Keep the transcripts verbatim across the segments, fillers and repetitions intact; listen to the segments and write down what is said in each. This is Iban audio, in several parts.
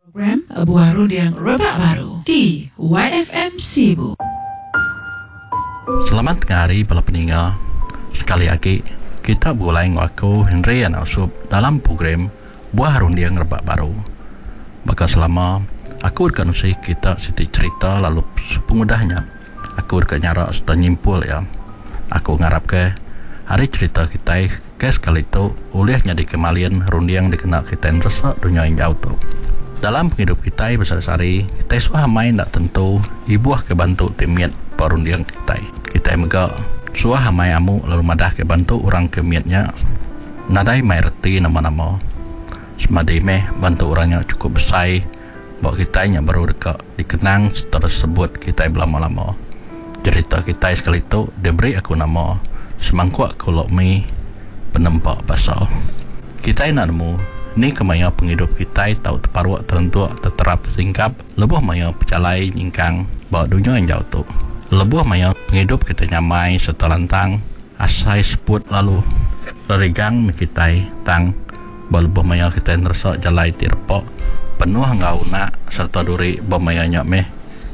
Program Buah Runding Rebak Baru di Y F M Sibu. Selamat tengah hari, bala peninga. Sekali lagi kita begulai enggau aku, Henry Anak Usup, dalam program Buah Runding Rebak Baru. Baka selama, aku deka nusi kita siti cerita lalu sepengudahnya aku deka nyara serta nyimpul ya. Aku ngarap ke hari cerita kita ke sekali tu ulih nyadi kemalin runding dikena kita neresa dunia injau tu. Dalam penghidup kita besar-sari, kita suah main tak tentu ibuh ke bantu ti mit perunding kita. Kita mega suah mai amu lalu madah ke bantu orang ke mitnya nadai mai reti nama-nama. Semadi meh bantu orangnya cukup besar bawa kita nya baru deka dikenang tersebut kita berlama-lama. Cerita kita sekali tu diberi aku nama Semangkuk Kolok Mi Penempa Basa. Kita nak nemu ni kemaya penghidup kita tau terparuk terentuk terterap tersingkap lebuh maya pejalai nyingkang bawa dunia yang jauh tu. Lebuh maya penghidup kita nyamai serta lantang asai seput lalu lerigang mi kita tang lebuh maya kita neresak jalai ti repok penuh enggau nak serta duri bermaya nya meh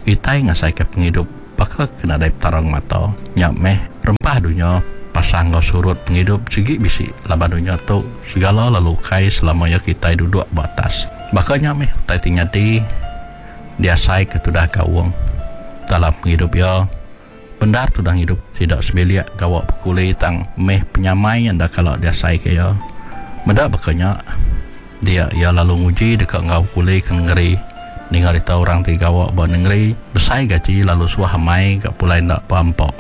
kita ngasai ke penghidup baka kena dai tarang mata nya meh rempah dunia pasang enggau surut penghidup sigi bisi laban dunia tu segala lalu kai selama ya kita duduk ba atas. Baka nya meh utai ti nyadi diasai ke tudah Gaung dalam penghidup ya. Bendar tudah hidup tidak sebilik gawa pekuli, tang meh penyamai yang dah kalau diasai ke ya. Meda bakanya dia ia lalu nguji dekat ngau kuli ke negeri. Ninga rita orang ti gawa ba negeri besai gaji lalu suah amai gak pulai ndak pampok.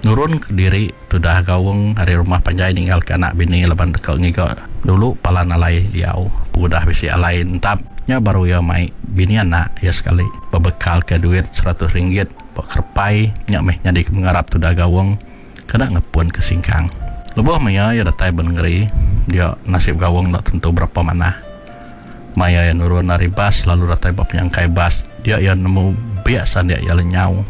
Nurun ke diri tudah Gaung hari rumah panjai ninggal ke anak bini laban dekat ngiga dulu palan alai diau. Udah bisi alai entap nya baru ia mai bini anak ia sekali berbekal ke duit seratus ringgit bak kerpai nya meh nyadi ke mengarap tudah Gaung kena ngepun ke singkang. Lebuh maya ia datai bernegeri, dia nasib Gaung tak tentu berapa mana. Maya ia nurun dari bas lalu datai ba penyangkai bas, dia ia nemu biasa dia ia lenyau.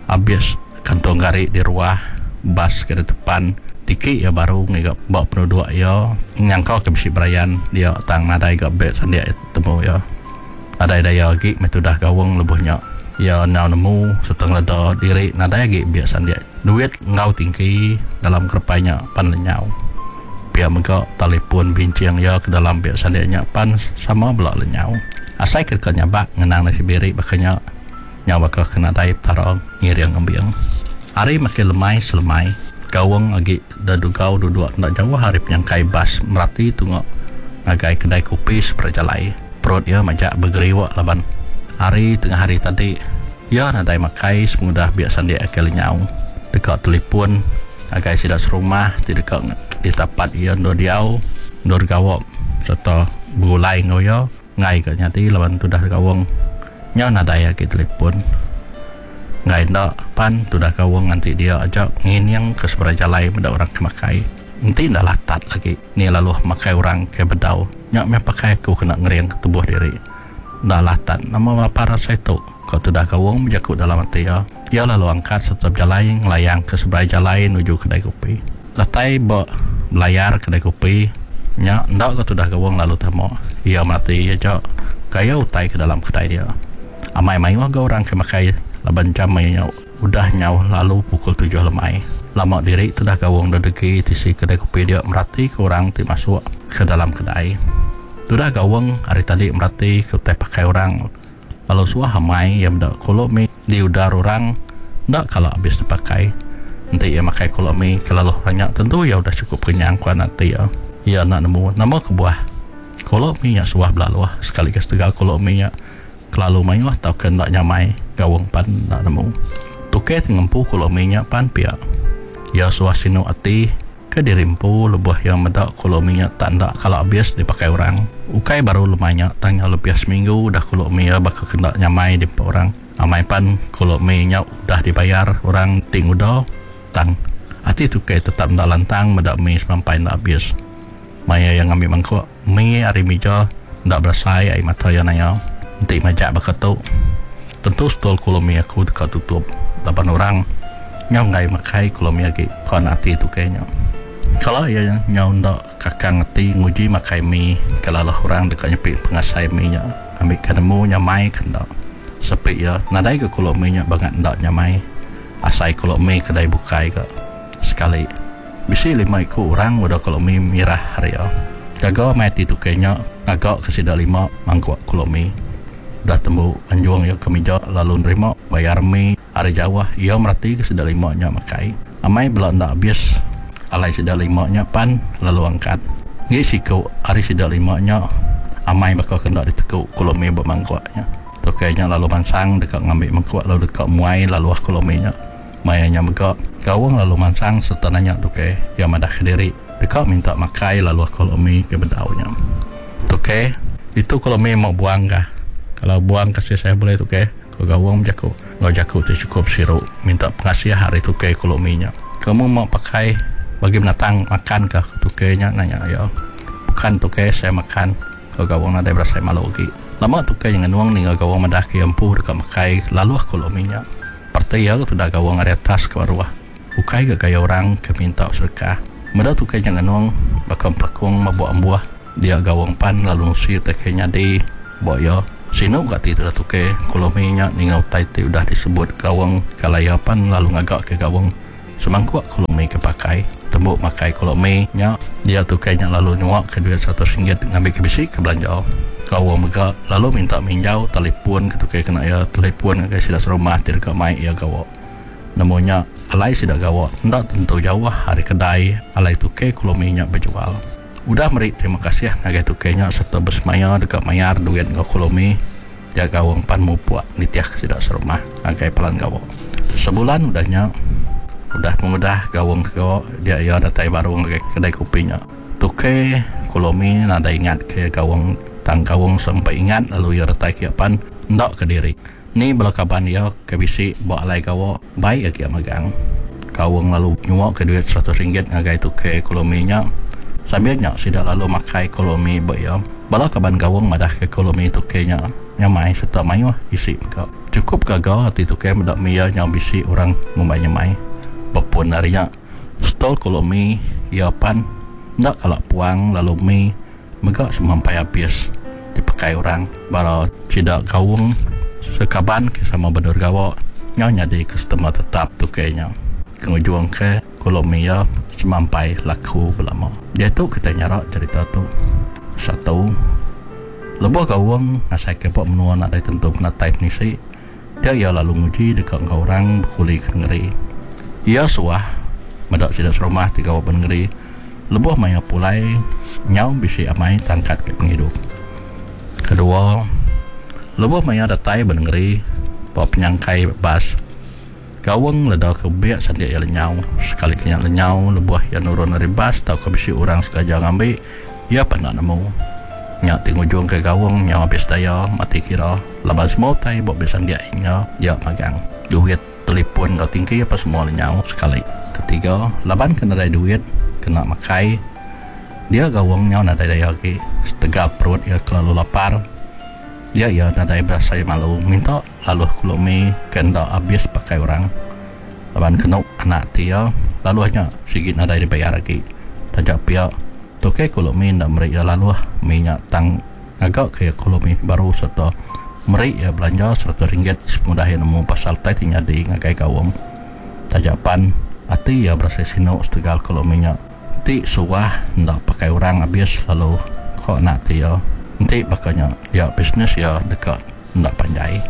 Habis kantong gari di ruah bas ke depan tiki ia baru ngiga ba penduduk ia nyangka ke bisi berayan dia, tang nadai ga beg sandia temu ia. Nadai daya agi meh tudah Gaung lebuhnya. Ia nau nemu serta ngeleda diri nadai agi beg sandia. Duit ngau tingki dalam kerpainya pan lenyau. Pia mega telefon bincing ia ke dalam beg sandianya pan sama belak lenyau. Asai ke dekat nyabak ngenang nasi biri bakanya nyawa ke kena dai petara ngiring ngembiang. Hari makin lemai selemai, Gaung agi dah dugau duduk nak jauh hari penyangkai bas merati tungok ngagai kedai kopi seberjalai. Perut ia majak bergeriwak laban hari tengah hari tadi ia nadai makai semudah biar sandia ke lenyau. Dekat telefon agai sidak serumah ti dekat ditapat ia ndo diau ndo gawok serta berulai ngau ia ngai ke nyadi laban tudah Gaung nya nadai agi telefon. Ngai ndak pan tudah Gaung nganti dia ajak ngining ke seberai jalai meda orang ke makai. Enti ndak latat lagi ni lalu makai orang ke bedau. Nya meh pakai aku kena ngering ke tubuh diri. Ndak latat nama lapar rasa itu. Kau tudah Gaung berjakut dalam hati ya. Ia lalu angkat serta berjalai ngelayang ke seberai jalai menuju kedai kopi. Datai ba belayar kedai kopi nya ndak ke tudah Gaung lalu tamu. Ia mati aja gaya utai ke dalam kedai dia. Amai mayuh ga orang ke makai laban jam mayuh udah nyau lalu pukul tujuh lemai. Lama diri tudah Gaung degi tisi kedai kopi dia merati ke orang ti masuk ke dalam kedai. Tudah Gaung hari tadi merati ke utai pakai orang lalu suah amai yang dak kolok mi di udar orang dak kalau habis dipakai. Nanti ia makai kolok mi ke lalu banyak tentu ia udah cukup kenyang kuat nanti ya. Ia nak nemu nama kebuah kolok mi nya suah belaluh sekali ke setegal kolok mi nya kelalu mayuh tau ke nak nyamai Gaung pan nak nemu. Tuke ngempu kolok mi nya pan pia. Ia suah sinu ati ke dirimpu lebuh yang medak kolok mi nya tak ndak kalau habis dipakai orang. Ukai baru lemanya tanya lebih seminggu dah kolok mi ya bakal kena nyamai di orang. Amai pan kolok mi nya udah dibayar orang ting udah tang. Ati tuke tetap ndak lantang medak mi sampai ndak habis. Maya yang ngambil mangkuk mi hari mija ndak berasai air mata yang naya. Nanti majak bakal tu tentu stol kolok mi aku dekat tutup. Lapan orang nyau ngai makai kolok mi lagi kau ati tuke nya. Kalau ia nyau ndak kakang ati nguji makai mi kalau lah orang dekat nyepi pengasai mi nya. Ngambi ke nemu nyamai ke enda. Sepi iya nadai ke kolok mi nya bangat enda nyamai. Asai kolok mi kedai bukai ga. Sekali bisi lima iku orang udah kolok mi mirah ari iya. Gaga mai ati tukey nya ngaga ke sida lima mangkuk kolok mi. Udah tembu anjung iya ke mija lalu nerima bayar mi ari jauh iya mereti ke sida lima nya makai. Amai bela enda abis alai sida lima nya pan lalu angkat. Ngi siku ari sida lima nya amai baka ke enda diteku kolok mi ba mangkuk nya. Tukey nya lalu mansang deka ngambi mangkuk lalu deka muai lalu kolok mi nya. Maya nya mega Gawang lalu mansang sereta nanya tukey iya madah kediri deka minta makai lalu kolok mi ke bedau nya. Tukey, itu kolok mi mau buang kah? Kalau buang kasih saya boleh tukey. Ko Gawang bejaku enggau jaku ti chukup siru minta pengasih ari tukey kolok mi nya. Kamu mau pakai bagi binatang makan kah? Ko tukey nya nanya iya. Bukan tukey, saya makan. Ko Gawang nadai berasai malu agi. Lama tukey nya ngenung ninga Gawang madah ke iya empu deka makai laluh kolok mi nya. Parti iya ke tudah Gawang ari atas ke baruh. Ukai ga gaya orang ke minta sedekah. Meda tukey nya ngenung baka empelekung mabuk ambuh. Dia Gawang pan lalu nusi utai ke nyadi ba iya. Sinu ga ati tudah tukey kolok mi nya ninga utai ti udah disebut Gawang kalai iya pan lalu ngaga ke Gawang semangkuk kolok mi ke pakai. Tembu makai kolok mi nya, dia tukey nya lalu nyuak ke duit seratus ringgit ngambi ke bisi ke belanja. Gawang mega lalu minta minjau telefon ke tukey kena iya telefon ngagai sida serumah ti deka mai iya gawa. Nemu nya alai sida gawa enda tentu jauh ari kedai alai tukey kolok mi nya bejual. Udah meri terima kasih ngagai tukey nya sereta besemaya deka mayar duit enggau kolok mi, dia Gawang pan mupuk nitih ke sida serumah ngagai pelan gawa. Sebulan udah nya, udah pengudah Gawang ke gawa, dia iya datai baru ngagai kedai kopi nya. Tukey kolok mi nadai ingat ke Gawang, tang Gawang sempai ingat lalu iya datai ke iya pan enda ke diri. Ni bala kaban iya ke bisi ba alai gawa baik agi magang. Gawang lalu nyuak ke duit seratus ringgit ngagai tukey kolok mi nya. Sambil nya sida lalu makai kolok mi ba iya. Bala kaban Gawang madah ke kolok mi tukey nya nyamai sereta mayuh isi mega. Chukup gaga ati tukey meda mi iya nyau bisi orang ngumbai nyamai. Bepun ari nya, stol kolok mi iya pan enda kala puang lalu mi mega semampai habis dipakai orang. Bala sida Gawang sekaban ke sama bendur gawa nyau nyadi customer tetap tukey nya. Ke ngujung ke kolok mi iya semampai laku belama. Diatu kita nyarak cerita tu. Satu, lebuh Gawang ngasai ke ba menua nadai tentu penatai penisi, dia iya lalu nguji deka enggau orang bekuli ke nengeri. Iya suah meda sida serumah ti gawa benengeri lebuh maya pulai nyau bisi amai tangkat ke penghidup. Kedua, lebuh maya datai benengeri ba penyangkai bas, Gawang leda ke biak sandik iya lenyau. Sekali ke nya lenyau lebuh iya nurun ari bas tau ke bisi orang sengaja ngambi, iya pan enda nemu. Nya ti ngujung ke Gawang nyau habis daya mati kira laban semua utai ba biak sandik nya iya magang. Duit, telefon enggau tingki apa semua lenyau sekali. Ketiga, laban ke nadai duit kena makai, dia Gawang nyau nadai daya agi. Setegal perut iya kelalu lapar, dia iya nadai berasai malu minta lalu kolok mi ke enda habis pakai orang. Laban kena anak ti iya lalu nya sigi nadai dibayar agi. Taja pia tukey kolok mi enda meri iya lalu mi nya tang ngaga ke iya kolok mi baru sereta meri iya belanja seratus ringgit sepengudah iya nemu pasal utai ti nyadi ngagai Gawang. Taja pan ati iya berasai sinu setegal kolok mi nya ti suah enda pakai orang habis lalu ko anak ti iya enti bakanya dia bisnes iya deka enda panjai.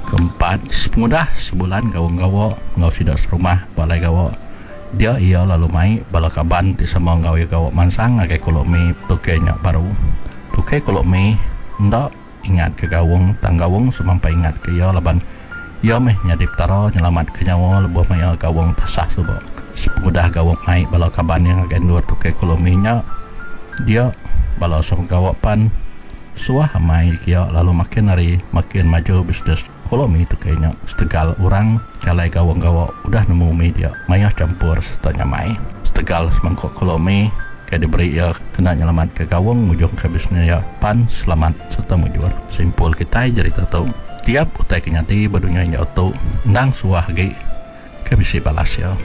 Keempat, sepengudah sebulan Gawang gawa enggau sida serumah balai gawa, dia iya lalu mai bala kaban ti sama enggau iya gawa mansang ngagai kolok mi tukey nya baru. Tukey kolok mi enda ingat ke Gawang, tang Gawang semampai ingat ke iya laban iya meh nyadi petara nyelamat ke nyawa lebuh maya Gawang tasah suba. Sepengudah Gawang mai bala kaban iya ngagai endur tukey kolok mi nya, dia bala sama gawa pan suah amai kia lalu makin hari makin maju bisnes kolok mi tukey nya. Setegal orang kalai Gawang gawa udah nemu mi dia mayuh campur sereta nyamai. Setegal semangkuk kolok mi ke diberi iya kena nyelamat ke Gawang ngujung ke bisnes iya pan selamat sereta mujur. Simpul kitai cerita tu, tiap utai ke nyadi ba dunya injau tu endang suah agi ke bisi balas iya.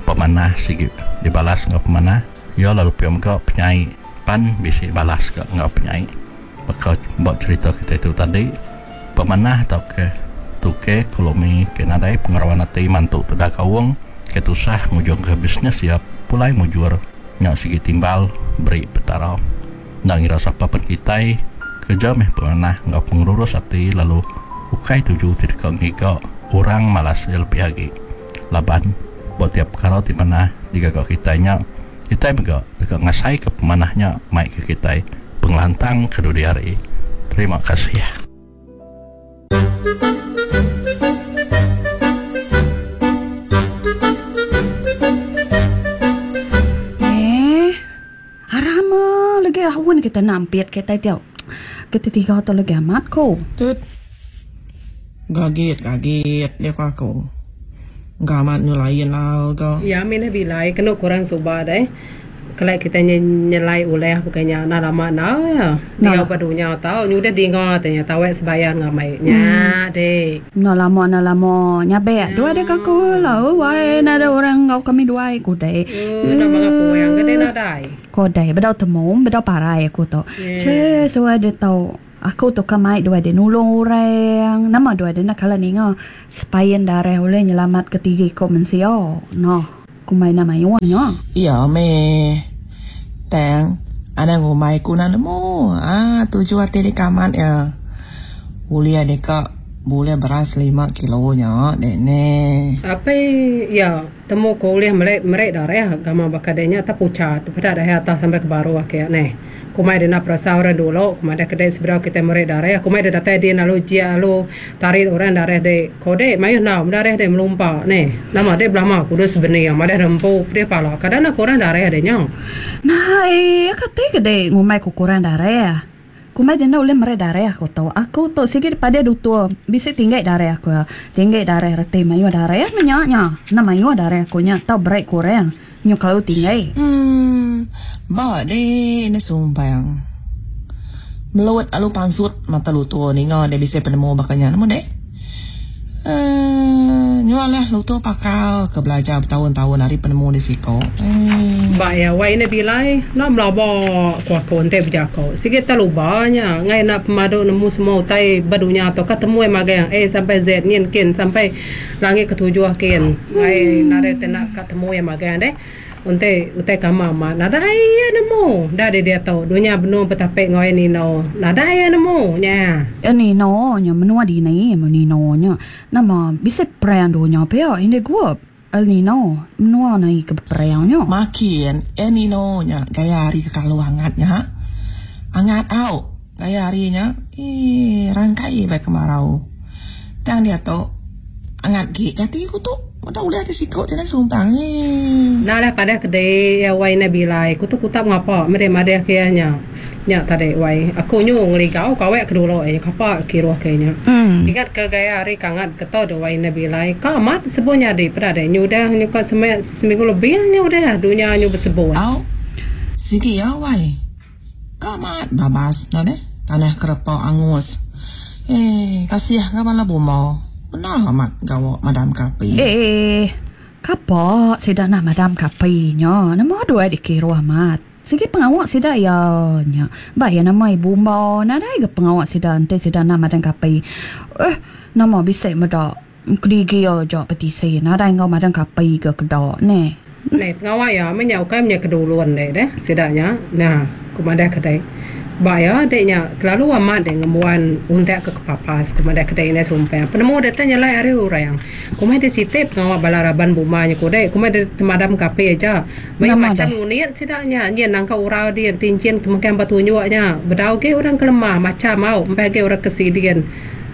Pemanah sigi dibalas enggau pemanah, iya lalu pia mega penyai pan bisi balas ke enggau penyai. Baka buat cerita kita itu tadi, pemanah atau ke tuke kolomi ke nadai pengerawan hati mantu tedah kaung ke tusah ngujung ke bisnes siap pulai mujur nyak sigi timbal beri petara. Nak ngira siapa pun kitai kerja meh pemanah ngau pengurus hati lalu ukai tuju tidak ngiga orang malas lebih lagi. Laban buat tiap perkara di mana digagak kitainya kita juga dekat ngasai ke pemanahnya mai ke kita pengelantang ke dunia hari. Terima kasih. Eh, arama lagi awan kita nampit kita tiap. Kita tiga atau lagi amat ko. Tut. Gagit, gagit dia aku. Gamat nyulain lah ko. Ya, mina bilai kena kurang subah deh. Kalau kita nyelai oleh bukannya nak lama na ya. Dia badunya tahu nyudah dengar tanya tahu sebayar ngamai nya deh. Na lama na lama nyabek dua dek aku lah. Wai na ada orang ngau kami dua aku deh. Nak mengapu yang gede na dai. Ko deh bedau temu bedau parai aku tu. Ce so ada tahu. Aku tu kamai dua dia nulung orang. Nama dua dia nak kala ninga sepayan darah oleh nyelamat ketiga ikut mensia. Noh, kumai nama yuannya. Iya me. Tang, ada ngumai ku nak nemu. Ah, tujuh hati di kamat ya. Boleh dekat boleh beras lima kilo nya, dek ne. Apa ya temu ko boleh merek merek darah gama bakadenya tak pucat. Pada dah atas sampai ke baru akhir ne. Kumai dia nak perasa orang dulu, kumai dia kedai seberapa kita merek darah, kumai dia datang dia lalu jia lalu tarik orang darah dia kode, mayu nak darah dia melompat ni, nama dia belama kudus benih, yang ada rempuk dia pala, kadang nak kurang darah dia nya. Nah, eh, kata kedai ngumai ku kurang darah, kumai dia nak boleh merek darah aku tahu, aku tu sikit pada dutua, bisa tinggal darah aku, tinggal darah reti mayu darah menyaknya, nama mayu darah aku nya, tahu berek kurang, nyu kalau tinggal. Hmm. Ba de ne sumpang. Meluat alu pansut mata lutu ninga de bisa penemu bakanya nemu de. Eh nyualah lutu pakal ke belajar bertahun-tahun hari penemu di siko. Eh ba ya wai ne bilai nak melabo kuah konte berjako. Sikit terlubanya ngai nak pemadu nemu semua utai badunya atau ketemu magang A sampai Z nien kin sampai langit ketujuh kin. Ngai nare tenak ketemu yang magang de. Unte utai kama ma nadai ya nemu dah dia dia tahu dunia benua petapek ngoi nino nadai ya nemu nya ya nino nya menua di ni nino nya nama bisa perang dunia pe ini gua El Nino menua ni ke perang nya makin El Nino nya gaya hari ke kalau hangatnya hangat au gaya harinya eh rangkai baik kemarau tang dia tu hangat gi kati ku tu Udah udah di sikok tidak sumpang ni. Nah lah pada kedai ya wai nabilai. Kutu kutap ngapa? Mere made kianya. Nya tadi wai. Aku nyu ngeligau kawek kedulo eh kapa kiruh kayaknya. Hmm. Ingat ke gaya hari kangat keto do wai nabilai. Kamat sebunya di pada de nyu dah nyu ka seme, seminggu lebih nyu dah dunia nyu bersebuah. Au. Sigi ya wai. Kamat babas nah deh. Tanah kerepau angus. Eh kasih ka bala bumo. Benar amat gawak madam kapi. Eh, kapak sida nak madam kapi nya. Nama dua dikira amat. Sigi pengawak sida ya nya. Ba ya nama ibu mbau nadai ge pengawak sida ente sida nak madam kapi. Eh, nama bisik medak kedigi ya jak petisi nadai ngau madam kapi ke kedak ne. Ne pengawak ya menyau kai nya keduluan deh deh sidanya. Nah, kumada kedai. Baya deknya kelalu amat dek ngemuan untak ke kepapas kumada kedai ne sumpah. Penemu datanya lai hari orang. Kumai de sitip ngawak balaraban bumanya kodai kumai de temadam kape aja. Mai macam unit sidaknya nyen nangka urau dia tincin kemungkinan batu nyuaknya. Bedau ke orang kelemah macam mau empai ke orang kesidian.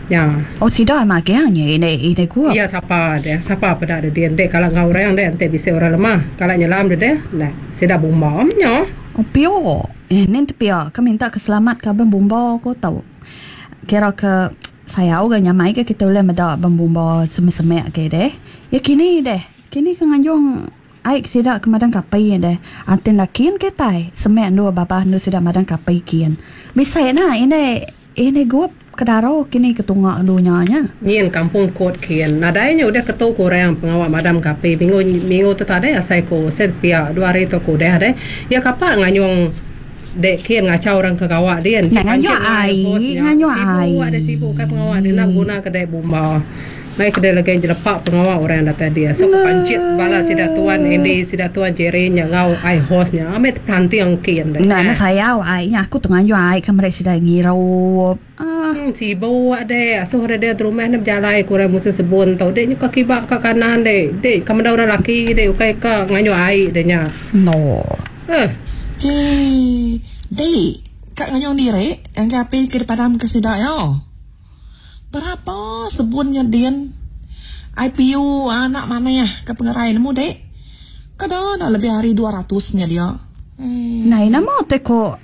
Ya. Oh sidak mak ke nya ini ini gua. Ya siapa dia? Siapa pada ada dia dek kalau ngau orang dek ente bisa orang lemah. Kalau nyelam dia dek nah sidak bumba nya. Oh pio. Eh nen pia ka minta keselamat ka ben bumba ko tau. Kira ke saya uga nyamai ke kita boleh medak ben bumba semek-semek ke deh. Ya kini deh. Kini ke nganjung ai sidak ke madang kapai deh. Anten lakin ke tai semek dua babah nu sidak madang kapai kian. Bisa na ini ini gua kedaro kini ketunga dunia nya. Nyin kampung kot kian. Nadainya udah ketu kurang pengawak madam kapi. Minggu minggu tu tadi asai ko set pia dua hari tu ko deh deh. Ya kapak nganyung Dek kian ngacau orang ke gawak dia. Nak nganjuk ai, nganjuk ai. Sibuk ada sibuk kan pengawak dia nak guna kedai bomba. Mai kedai lagi jelepak pengawak orang yang datang dia. So pancit bala sida tuan Andy, sida tuan Jerry nya ngau ai hostnya. Ame terpelanting kian dek. Nah, nah sayau ai nya aku tenganjuk ai ke mereka sida ngirup. Ah, Hmm, sibuk dek. Asuh ada dia di rumah ni berjalai kurang musim sebun tau. Dek nya ke kibak ke kanan dek. Dek kamu dah orang laki dek ukai ke nganjuk ai dek nya. no. Eh, Cik, dek, kak nganyong diri yang ke api ke padam ke sidak yo. Berapa sebunnya din? I P U anak mana ya ke pengerai nemu dek? Kada dah lebih hari dua ratus nya dia. Eh. Nah, nama te ko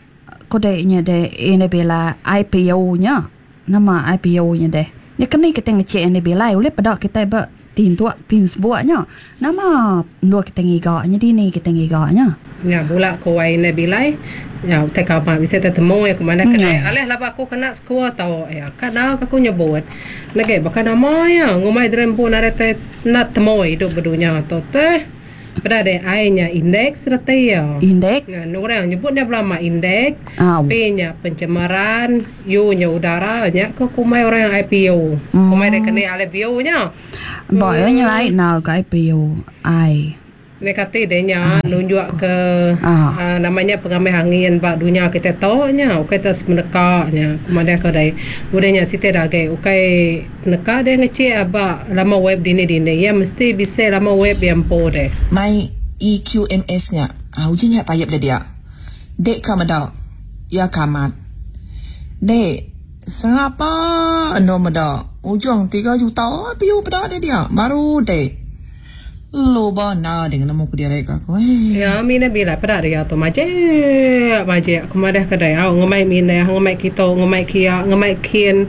ko dek nya dek ini bila I P U nya. Nama I P U nya dek. Ya kena kita ngecek ini bila oleh pada kita ber tintuk pins buatnya. Nama dua kita ngigaknya dini kita ngigaknya. Ya bulak ko wai ne bilai. Ya utai ka bisa tetemu ya ke mana kena. Aleh laba aku kena skua tau ya. Kadang aku nyebut. Lagi bahkan nama ya ngumai drempu narete nak temu hidup berdunia tu teh. Pada ada I-nya indeks reti ya. Indeks. Nah, orang nyebutnya belama indeks. Ah. P-nya pencemaran, U-nya udara, nya ke kumai orang yang I P U. Hmm. Kumai dia kena ale B U-nya. Boleh hmm. Lain nak I P U I. Nekati dia nya nunjuk ke ah. uh, namanya pengambil angin bak dunia kita tahu nya, ukai terus menekaknya. Kumai ke dai. Udahnya site dah gai, ukai peneka dia ngecek abak lama web dini dini. Ya mesti bisa lama web yang po deh. Mai E Q M S nya, ah ujinya tayap dia dia. Dek kamada, ya kamat. Dek, siapa endo meda? Ujung tiga juta piu pada dia dia. Baru dek. Loba na dengan nemu ku dia rek aku. Eh. Ya, mina bila pada dia tu majek, majek. Aku madah kedai au ngemai mina, ngemai kita, ngemai kia, ngemai kien.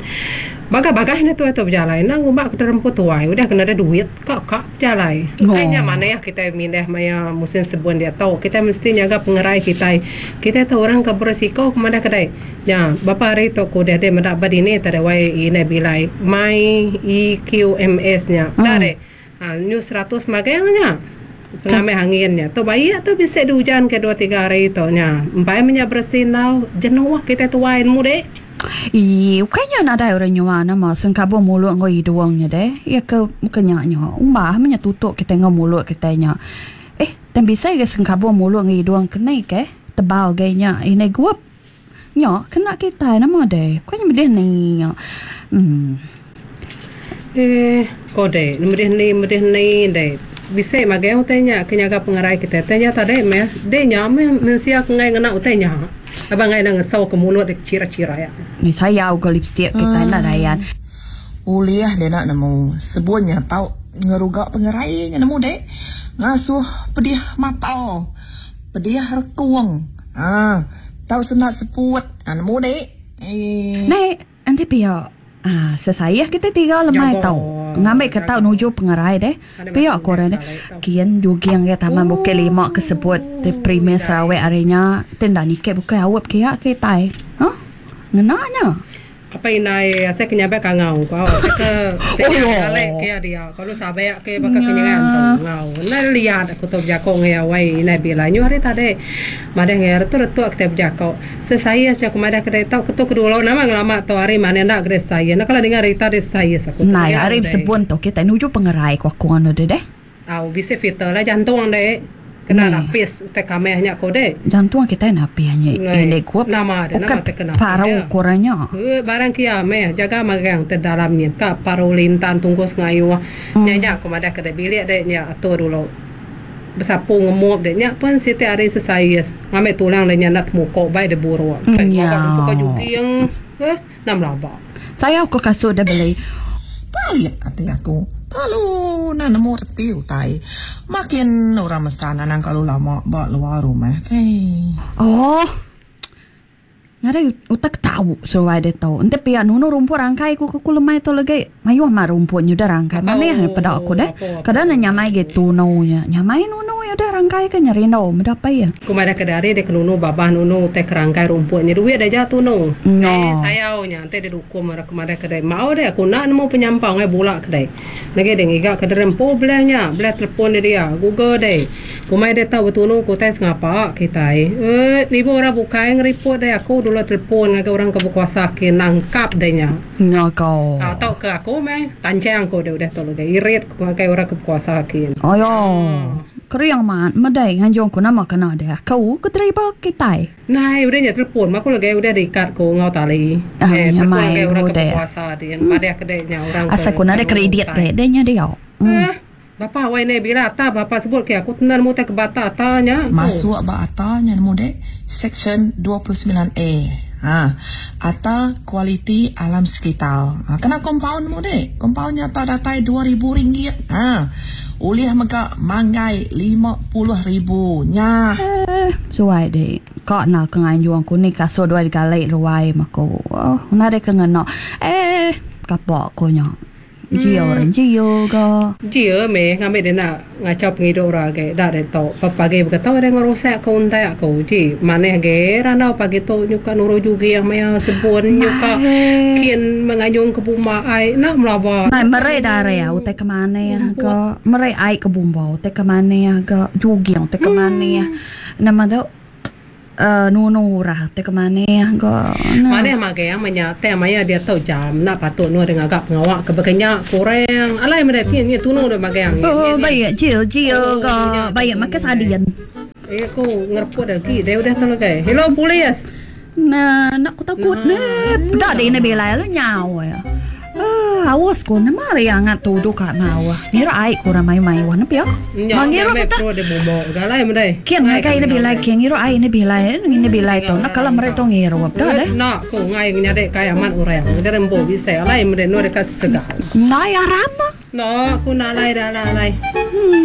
Bagah-bagah ni tu tu berjalan. Nang ngubak ke remput tuai, udah kena ada duit kak kak berjalan. Oh. Kayaknya mana ya kita mindah maya musim sebun dia tahu. Kita mesti jaga pengerai kita. Kita tahu orang ke berisiko ke mana kedai. Ya, bapa hari tu ku dia dia mendak badini tadi wai ini bilai my E Q M S nya. Hmm. Dah deh. Ha, new seratus magangnya. Pengambil anginnya. Tu bayi atau bisa di hujan ke dua tiga hari tu nya. Empai menya bersih nau jenuh kita tuain mude. Ih, kayaknya nak ada orang nyuan nama sengkabung mulut ngoi hidungnya deh. Ya ke kenyaknya. Umbah menya tutup kita ngau mulut kita nya. Eh, dan bisa ke sengkabung mulut ngoi hidung kena ke tebal gayanya. Ini gua nya kena kita nama deh. Kau nya medih ni. Hmm. Eh, kode, medih ni, medih ni deh. Bisa magang utainya kenyaga pengerai kita. Tanya tadi meh, deh nya meh mensia kengai ngena utainya. Abang ngai nang ngesau ke mulut dek cira-cira ya. Ni saya ke lipstick kita nak dayan. Uliah dia nak nemu sebunnya tau ngerugak pengerai nya nemu dek. Ngasuh pedih mata. Pedih rekuang. Ah, tau senak seput. Ah, nemu dek. Eh. Nek, nanti pia. Ah, sesaya kita tiga lemai tau. Ngambil ke tau nuju pengerai deh. Pia korang deh. Kian jogging ke Taman Bukit Lima kesebut di Premier Sarawak harinya. Tenda nikah bukan awak kia ke tai. Hah? Ngenanya. Apa inai saya kenyabek kangau kau. Saya ke tengok alek ke dia. Kalau sabek ke bakal kenyangan tau ngau. Nah lihat aku tu berjakok ngai awai inai bila nyu hari tadi. Madeh ngai tu retuk kita berjakok. Sesaya saya aku madah kedai tau ketuk kedua nama ngelama tau hari mana nak kedai saya. Nah kalau dengar rita dari saya aku. Nah hari sebun tu kita nuju pengerai ku aku anu deh. Au bisa filter lah jantung deh. Kena lapis te kamehnya ko deh. Jantung kita napi hanya ini gua. Nama ada nama te kena. Paru kurangnya. Eh barang kia meh jaga magang te dalamnya ka paru lintan tunggus ngayu. Nya nya aku madah kedai bilik deh nya atur dulu. Bersapu ngemup deh nya pun siti hari sesaya ngambil tulang deh nya nak mukok bai de buruk. Ya. Mukok juga yang eh nam laba. Saya aku kasut dah beli. Balik hati aku. Lalu nak nemu reti utai. Makin orang mesan anang kalau lama bak luar rumah kai. Oh. Ngare utak tahu suai dia tahu. Ente pia nunu rumput rangkai ku ku lemai tu lagi. Mayuh mah rumput nyudah rangkai. Mana yang pada aku deh. Kadang nyamai gitu naunya. Nyamai nunu ya dah rangkai ke nyerindo mendapai ya. Ku madah ke dari dia kenunu babah nunu teh kerangkai rumputnya duit dah jatuh nu. No. Eh sayau nya ente dia dukung marah ku madah kedai. Mau deh aku nak nemu penyampang eh bulak kedai. Lagi dia ngiga ke derempo belahnya, belah telefon dia dia, Google deh. Ku mai dia tahu betunu ku tes ngapa kita. Eh ibu orang bukai ngeripot deh aku dulu telefon ngagai orang ke berkuasa ke nangkap deh nya. Nya kau. Atau ke aku meh tancang aku dia udah tolong deh irit ku ngagai orang ke berkuasa ke. Ayo. Keriang mat medai nganjung ku nama kena dia. Kau ke terima kita. Nah, udah nya telefon aku lagi udah diikat ku ngau tali. Ah, eh, nya telefon mai ngagai orang ke udah. berkuasa dia. Madah kedai nya orang ke. Asal ku nak ada kredit ke dia nya dia. Hmm. Eh, bapa wai ne bila ta bapa sebut ke aku tenan mu ke bata tanya. Masuk ba atanya nemu dek section dua puluh sembilan A. Ha, atau kualiti alam sekitar. Ha, kena compound nemu dek. Compoundnya tak datai dua ribu ringgit. Ha. Ulih mega manggai lima puluh ribu nya. Eh, suai deh. Kok nak ke nganjuang ku ni kasut dua galai ruai mako. Oh, nak dek ngeno. Eh, kapok ko nya. Jio orang jio ke. Jio me ngambil dia nak ngacau penghidup orang ke. Dah dia tahu. Pagi berkata dia ngerosak kau untai aku. Ji, mana ge ranau pagi tu nyuka nuru juga yang maya sebun nyuka kian menganyung ke buma ai nak melawat. Nah, mere dare ya, utai ke mana ya ke. Mere ai ke bumba, utai ke mana ya ke. Jugi utai ke mana ya. Nama tu uh, nunu rah utai ke mana ya ke. Mana magai yang menyate maya dia tahu jam nak patut nu dengan agak pengawak ke berkenyak kurang. Alai mana tian ni tunu dah magai yang. Oh, baik, jio jio ke. Baik, makan sadian. Eh, aku ngerput lagi. Dia udah tahu lagi. Hello, polis. Nah, nak ku takut ni. Dah dia ni bila lu nyawa ya. Eh, awas ku ni mari angat tuduh kat mawa. Ngira ai ku ramai mai wan pia. Mangira kita. Pro dia bomo. Galai mendai. Kian ngai ni bila kian ngira ai ni bila ni bila tu. Nak kalau mereka ngira dah deh. Nak ku ngai nyadek kai amat orang. Dia rembo bisa alai mendai nu dekat segar. Ngai aram. Nak ku nak lai dah lai. Hmm.